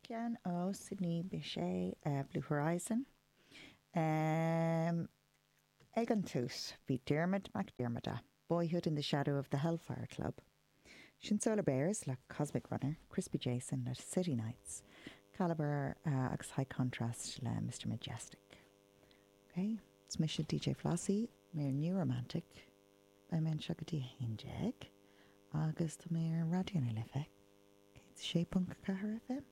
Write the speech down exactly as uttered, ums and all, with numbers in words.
Ceann ó Sidney Bechet uh, Blue Horizon. Um, ag an tús bhí Diarmuid Mac Diarmada, Boyhood in the Shadow of the Hellfire Club. Sin Solar Bears le Cosmic Runner, Crispy Jason le City Nights, Caliber uh, agus High Contrast le Mr. Majestic. Okay, It's mise DJ Flossie, mé New Romantic, Beidh mé anseo go dtí haon déag agus tá mé ar Raidió na Life. Sé ponc ceathair FM.